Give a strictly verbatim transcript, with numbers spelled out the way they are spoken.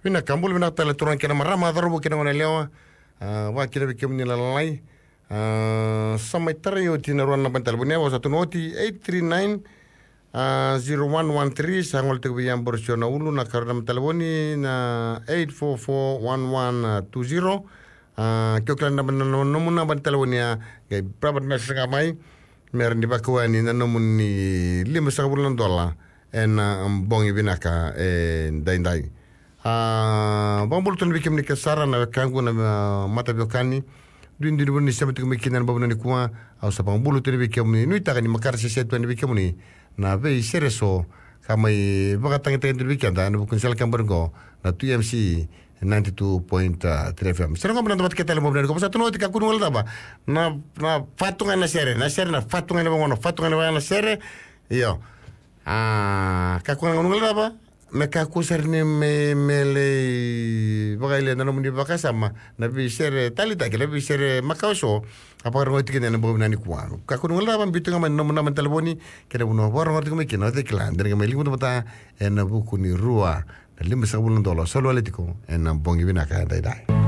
Vinaka, bula vinaka tale turaga kei na marama, cauravou kei na goneyalewa. A, vakakina vei kemuni na lalai. A, sa mai tarai oti na rua na naba ni talevoni, a, sa tukuni oti, eight three nine, a, zero one one three. Sa gole tiko vei Aborosio na Ulu, na karua na naba ni talevoni na eight four four one one two zero. A, ke o kila na naba, na nomu naba ni talevoni, a, qai private message ga mai, me rawa ni vakau yani na nomuni lima sagavulu na dola ena bogi vinaka edaidai. A, vakabula tu yani vei kemuni kece sara na wekaqu na, a, mataveiwekani duidui ni vanua ni sema tiko mai kina ena bogi vinaka nikua. Au sa vakabula tu yani vei kemuni, nuitaka ni makare sese tu yani vei kemuni na veisere eso ka mai vakatagitaki tu yani vei keda ena vuku ni sala kebari qo na two M C ninety-two point three F M. Sere qo me na dua vata kei tale bogi vinaka nikua. Sa tukuni oti, kakua ni guilecava. Na, na fatu ga na sere, na sere na fatu ga na vagona, fatu ga na vagona na sere. Io. A, kakua ga ni guilecava. Me kakua sara ni me, me lai vakayalia na nomuni vakasama na veisere taleitaki, na veisere makawa eso. A, vakarorogo tiko kina ena bogi vinaka nikua. Kakua ni guilecava, biu tu ga mai na nomu naba ni talevoni kei na vanua o vakarorogo tiko mai kina, o cei kila, de na qai mai liga vata ena vuku ni rua na lima sagavulu na dola o soli wale tiko ena bogi vinaka edaidai.